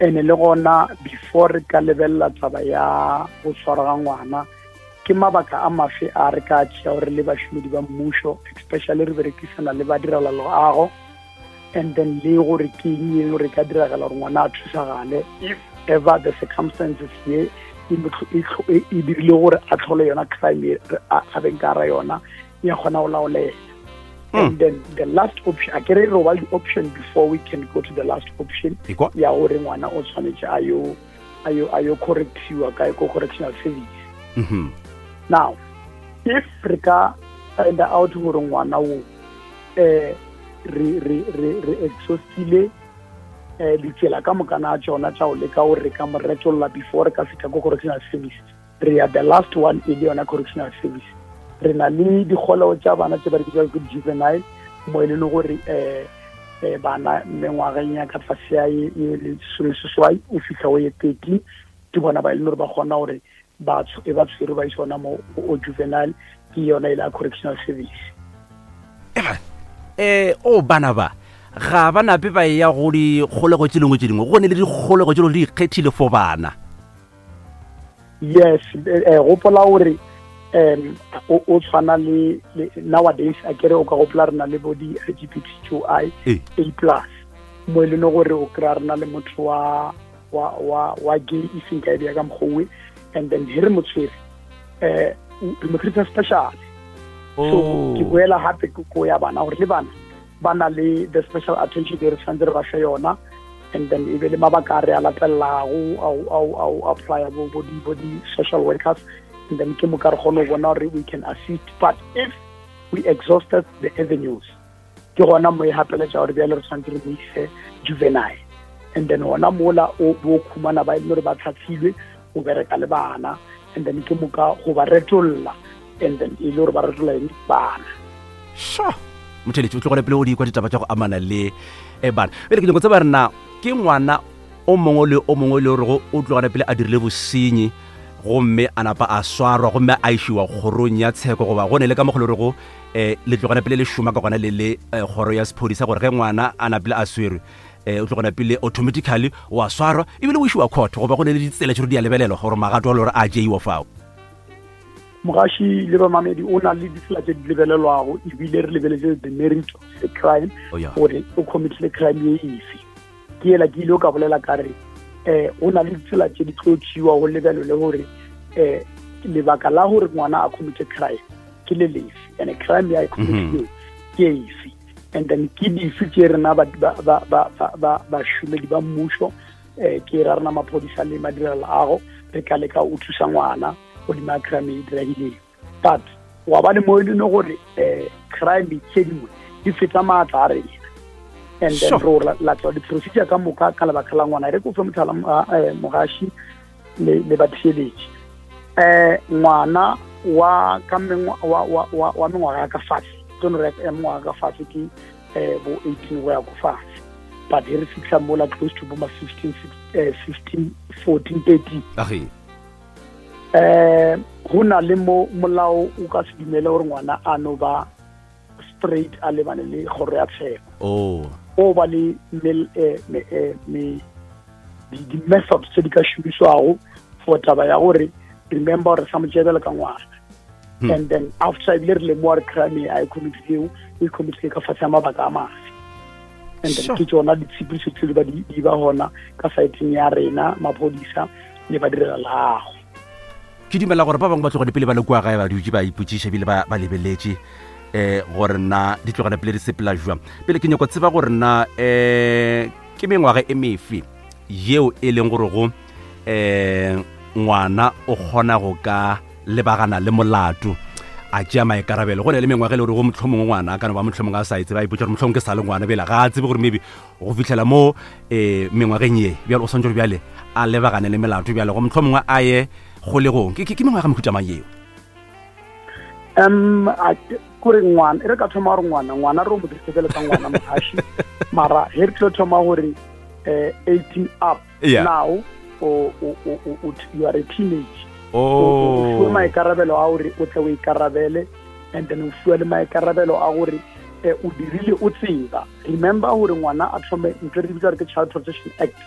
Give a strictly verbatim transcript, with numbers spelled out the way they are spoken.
Ene le gona before re ka lebelela taba ya go tshwara ga ngwana, ke mabaka a mafe a re ka tšea gore le bašomedi ba mmušo, especially re berekisana le badirela loago, and then le gore ke eng e gore ka diragala gore ngwana a thusagale if ever the circumstances ye e e, e dirile gore a tlhole yona crime a beng ka ra yona ya kgona go laolela. hmm. And then the last option, a kere re ba the option before we can go to the last option ya gore ngwana o tshwanetse a yo a yo a yo correctiwa kae, ko correctional service. mm -hmm. Now if re ka find out gore ngwana o eh re re re re exhaustile eh ditsela ka mokana a tsona tša go leka gore re ka mo retolla before re ka fihla ko correctional service, re ya the last one e le yona correctional service. Re na le dikgolego tša bana tše ba di bitsang ke juvenile, mo e leng gore um um bana mengwageng ya ka tlase ya ye lesomeseswai o fitlha go ye thirteen, ke bona ba e leng gore ba kgona gore e ba tshwere ba ise ona mo o juvenile, ke yona e le ya correctional service. eh o bana ba ga ba nape ba ya go dikgolego tse dingwe tse dingwe, go ne le dikgolego tse di ikgethile for bana? Yes, eh, gopola gore um o tshwana le nowadays, a kere o ka gopola re na le bo di L G B T Q I A plus, mo e leng gore o kry-a re na le motho wa wa wa wa gay, e seng ka e beya ka mokgowe, and then he re mo tshwere, um re mo treata special. So ke boela gape ko ya bana, gore le bana ba na le the special attention e re tshwanetse re ba fe yona, and then e be le mabaka a re a latelelago ao apply bo bo di-social workers, and then ke moka re kgone go bona gore we can assist. But if we exhausted the avenues, ke gona mo e gapeletša gore bjale re tshwanetse re mo ise juvenile, and then gona mola o bo khumana ba e leng gore ba tlhatlhilwe go bereka le bana, and then ke moka go ba retolla, and then e le gore ba retolla eng, bana. Sure, motheletši o tlogele pele o di kwa ditaba tša go amana le e bana. Pele ke nyako tseba rena ke ngwana o mongwe le o mongwe le gorego o tlogane pele a dirile bosenyi gomme a napa a swarwa gomme a išiwa kgorong ya tsheko, goba go ne le ka mokgwa le gorego um le tlogana pele le šoma ka gona le le kgoro ya sephodisa, gore ge ngwana a napile a swerwe, um o tlogana pele automatically wa swarwa ebile o išiwa court, goba go ne le ditsela tše di a lebelelwa gore magato a le gore a tšeiwa fao? Mogaši le bamamedi, o na le ditsela tse di lebelelwago, ebile re lebeletse the merit of the crime, gore o committile crime ye efe. Ke ela ke ile o ka bolela ka re um go na le ditsela tse di tlo tšeiwa go lebelele gore um lebaka la gore ngwana a commite crime ke le lefe, and crime ya e committileng ke efe, and then ke dife tše rena bašomedi ba mmušo, um ke ra rena maphodisa le madirelo re ka leka o thusa ngwana godimo crime e diragileng. But wa ba le mo e leng gore um crime tse dingwe di feta maatla a rena, and then re latela di-procedure ka moka ka lebaka la ngwana. E re ko fe motlhala, mogaši le batheeletši, um ngwana wa ka wa wa mengwaga ya ka fatshe, ke no re ya mengwaga ka fatshe ke um bo eighteen go ya ko fatshe, but he re fitlha mola close to bo ma fifteen, fifteen, fourteen, thirteen, eh go na le mo molao o ka se dumele gore ngwana a no ba straight a lebane le kgoro ya tsheko. Oh. O ba le me di-methods tse di ka šomišwago for taba ya gore, remember gore sa mo tšebele ka ngwana, hmm. and then after ebile re lemoa re crime a e committileng, o e committile ka fatshe ya mabaka a mafe, and then ke tsona ditshepedišo tse di ba di ba gona ka saeteng ya rena maphodisa le badirela leago. Ke dumela gore ba bangwe ba tlogane pele ba le kua gae, ba dutse ba ipotšiša ebile ba lebeletše um gore nna di tlogane pele di sepela jwang. Pele ke nyako tseba gore nna um ke mengwaga e mefe yeo e leng gore go um ngwana o kgona go ka lebagana le molato, a tšea maikarabelo. Go ne le mengwaga e le gore go mohlomongwe ngwana a ka no ba mohlomongwe a sa e tseba, a ipotsa gore mohlomongwe ke sa le ngwana, bjale ga a tsebe gore maybe go fitlhela mo um mengwageng ye bjale o swantse gore bjale a lebagane le melato, bjale go mohlomongwe a ye kgolegong. Ke mengwaga mehuta mang yeo? um kore ngwana, e re ka thoma gore ngwana ngwana re o mo dirise bjale ka ngwana, mogaši, mara he re tlo thoma gore um eighteen up. Yeah. Now o, o, o, o, you are a teenage, oh. o fiwe maikarabelo a gore o tle o ikarabele, and then o fiwa le maikarabelo a gore o dirile o tseba. Remember gore ngwana a thome ntho re bitsa gore ke Child Protection Act.